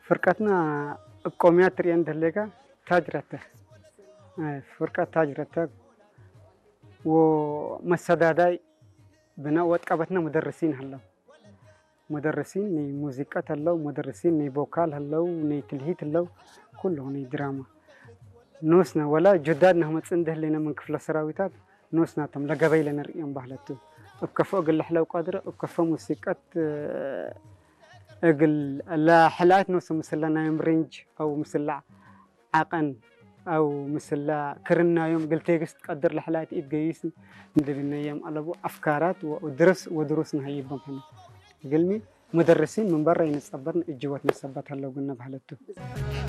ፍርቀትና እብ ቆምያ ትርእየን ደሌጋ ታጅረተ ፍርቀት ታጅረተ ወመሰዳዳይ ብና ወጥቀበትና ሙደርሲን ሀለው። ሙደርሲን ናይ ሙዚቀት ሀለው፣ ሙደርሲን ናይ ቦካል ሀለው፣ ናይ ትልሂት ሀለው፣ ኩሉ ናይ ድራማ ኖስና ወላ ጁዳድ ነህመፅእ እንደህሌና ምን ክፍለ ሰራዊታት ኖስናቶም ለገበይ ለነርእዮም ባህለቱ እብ ከፎ እግል ለሕለው ቀድረ እብ ከፎ ሙሲቀት እግል ለሕላየት ኖስም ምስላ ናዮም ሬንጅ አው ምስላ ዓቐን አው ምስላ ክርናዮም እግል ቴግስት ቀድር ለሕላየት ኢድ ገይስ እንድብነዮም አለቡ አፍካራት ወድርስ ወድሩስ ነሀይቦም ሕነ እግልሚ ሙደርሲን ምን በራ ይንጸበርን እጅወት መሰባት ሀለው ግነ ባህለቱ።